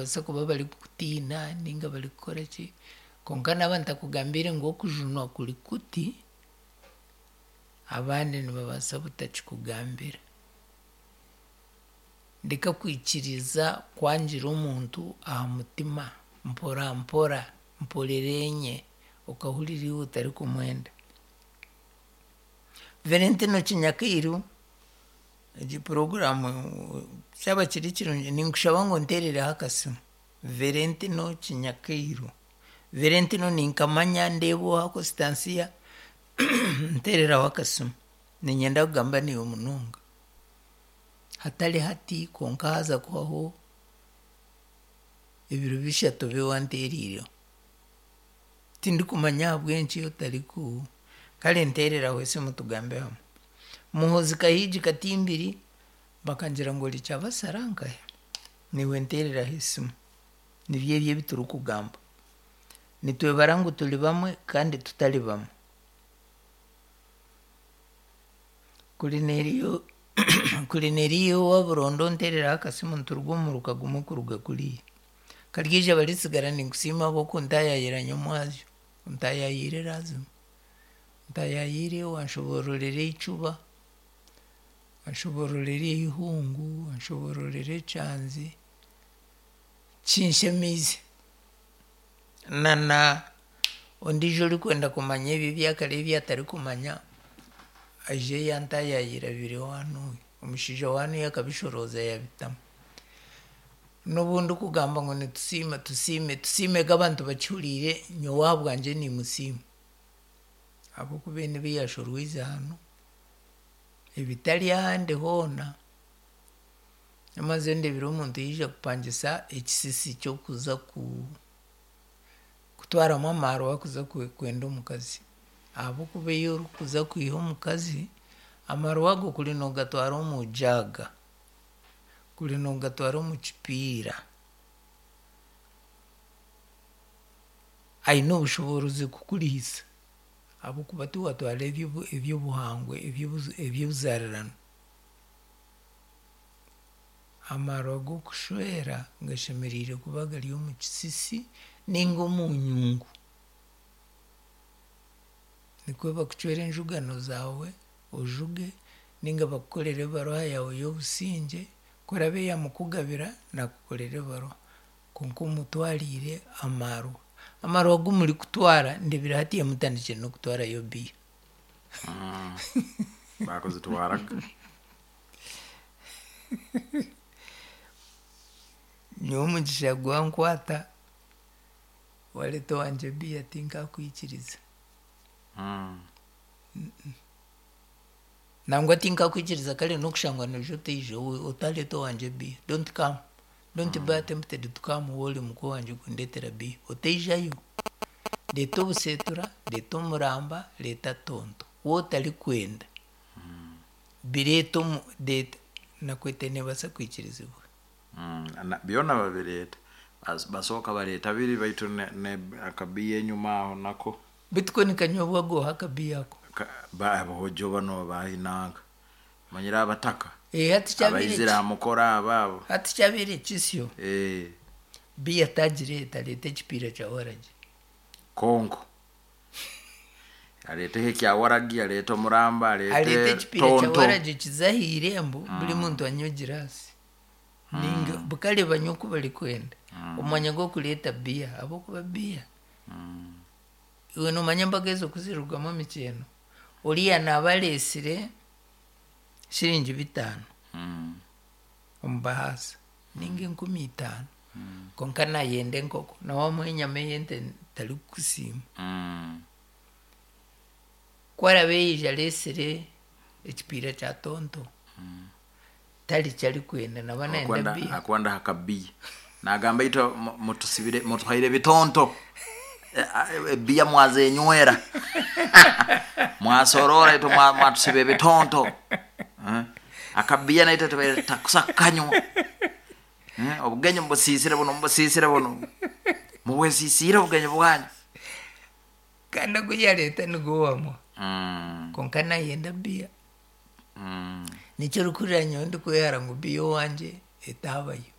Nibabaasa kuba barikukutiina nainga barikukora ki, kwonka naaba ntakugambiire ngu okujunwa kuri kuti, abandi nibabaasa butakikugambira. Ndeka kwikiriza kwangira omuntu aha mutima mpora mpora, mporera enye, okahurira iwe otarikumwenda. Valentino Kinyakairu, egi puroguraamu kyaba kiri kirungi ninkushaba ngu onteerereho akasimu. Valentino Kinyakairu. Valentino ninkamanya ndeeba oha Constantia, nteereraho akasimu. Niinyenda kugamba naiwe munonga. Hatari hati kwonka haaza kuhwaho ebiro bishatu obe wanteereireho. Tindikumanya ahabw'enki otariku kare nteereraho esimu tugambe hamwe. Muhoozi Kahiigi Katimbiri bakangira ngu ori Kyabasara nkahe? Naiwe nteereraho esimu. Nibyo ebyo ebi turikugamba. Nitwebara ngu turi bamwe kandi tutari bamwe. Kurineriyo owa Burondo onteereraho akasimu nituruga omu muruka gumwe kuruga kuriya. Karyeija baritsigara ninkusiima ahabw'okuntaayaayira nyomwazyo. Ontaayaayire laazima. Ontaayaayire wanshoboororera eicuba, wanshoboororera eihungu, wanshoboororera ekyanzi, kinshemeize. Na na ondiijo orikwenda kumanya ebyo ebyakare ebi atarikumanya, aije yantaayaayira biri owanuuya. Omushaija wanuuya akabishorooza yaabitamu. N'obu ndikugamba ngu nitusiima tusiime, tusiimege abantu bakihuriire, nyowe ahabwangye niimusiima. Ahabw'okuba ebi nibi yaashorwize hanu, ebitari ahandi hoona. Nyamaze ndeebire omuntu yaija kupangisa ekisisi ky'okuza ku kutwaramu amaarwa kuza kwenda omukazi. Ahabw'okuba ei orikuza kwiha omukazi, amaarwa ago kuri noogatwara omu jaaga, kuri noogatwara omu kipiira, aine obushoboorozi kukurihiisa ahabw'okuba tiwaatwara eby'obuhangwa eby'obuzaarirano. Amaarwa g'okushwera gashemereire kuba gari omu kisisi ninga omu nyungu. Nikwo bakucwera enjugano zaawe ojuge ninga bakukorere ebaruha yaawe y'obusingye, ku eraabe yaamukugabira naakukorera ebaruha kwonka omutwariire amaarwa. Amaarwa agu murikutwara ndeebire hatiiya mutandikire n'okutwarayo biya. Baakuzitwaraga. Nyowe omugisha gwankwata, wareeta owangye biya tinkakwikiriza. Nangwa tinkakwikiriza kare n'okushangwa noija otaija otareeta owangye biya. Don't come. Don't be attempted to come waaba ori muka owangye kundeetera biya. Otaijayo. Reeta obuseetura, reeta omuramba, reeta tonto. Waaba otarikwenda, bireete omu reeta nakwete neebaasa kwikirizibwa. Byona babireeta. Basooka bareeta biri baitu akabiya enyuma aho nako. Beitu ko nikanywebwa gooha akabiya ako? Aboojo banu abainanka omanyire abataka Hati kyabaire abaizire aha mukoro abo abo. Hati kyabaire kisyo, biya tagireeta areeta ekipiira kya waragi. Konko areeteho ekya waragi, areete omuramba, Areete areete ekipiira kya tonto. waragi kize aha irembo buri muntu anywe egiraasi. Ninga bukare banywe oku barikwenda omu mwanya gw'okureeta biya ahabw'okuba biya iwe noomanya embaga ezo ku zirirugamu emikyeno, oriya naaba areetsire shiringi bitaano omu bahaasa ninga 5000 kwonka naayenda enkoko na waamuha enyama ey'ente tarikukusiima. Ku araabe yaija areetsire ekipiira kya tonto, tari ki arikwenda naaba naayenda biya. Akwenda aha kabiya. Naagamba itwe mutusibire mutuhaire bitonto ebiya mwazenywera mwasoroora itwe mwatusiba ebitonto akabiya naitwe tubaire tutakusa kukanywa obugenyi mubusiisire bunu mubusiisire bunu mubwesiisiire obugenyi bwanyu. Kandi ogu yareeta nigwo wamuha kwonka nayenda biya. Nikyo orikuhurira nyowe ndikwehara ngu biya owangye etaabayo.